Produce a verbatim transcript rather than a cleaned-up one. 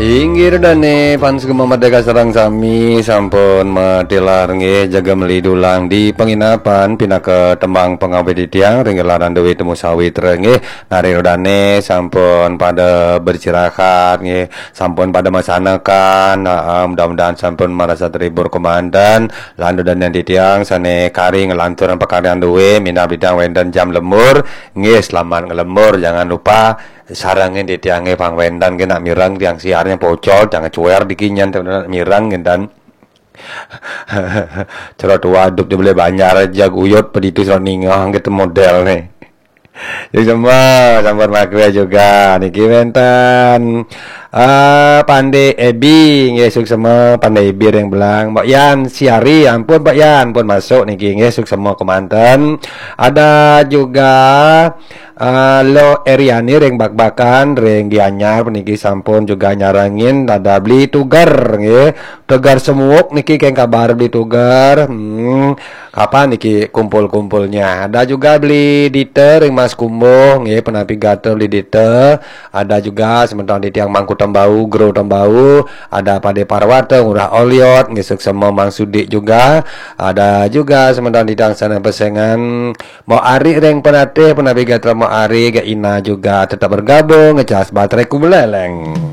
Inggih dane, pan sugeng Merdeka sareng sami sampun matilar nggih, jaga meli dulang di penginapan pinaka tembang pangawit titiang ring gelaran duwe temu sawitra nggih. Nari rodane sampun pada beristirahat nggih, sampun pada masanekan. Nah, mudah-mudahan sampun marasa terhibur kemanten. Lan dane titiang sane kari nglanturang pakaryan duwe, minab titiang wenten jam lembur nggih, selamat nglembur. Jangan lupa sarengin titiange pang wenten nggih, nak mireng tiang siarnya pocol, jangan cuer dikinyan nak mireng nggih dan cerot waduk di beli banjar aja guyut peditu serot ningah gitu model nih. Suksema sampun makre juga niki wenten eh Pande Ebi nggih, suksema Pande Ebi ring Belang. Mbak Yan Siari, ampun Mbak Yan pun masuk niki nggih, suksema kemanten. Ada juga eh, Lo Eriani ring Bakbakan ring Gianyar puniki sampun juga nyarengin, ada Beli Tuger nggih. Tuger Semuuk niki keng kabar Beli Tuger. Hmm, kapan niki kumpul-kumpulnya? Ada juga Beli Dita ring Mas Kumbuh nggih, penapi gatra Beli Dita. Ada juga semeton titiang Mangku Tembau, Gro Tembau, ada Pade Parwata, Ngurah Oliot nggih, suksema Mang Sudi juga. Ada juga semeton titiang sana pesengan Mo Ari ring Penatih, penapi gatra Mo Ari, ga Ina juga tetap bergabung ngecas baterai ku beleleng.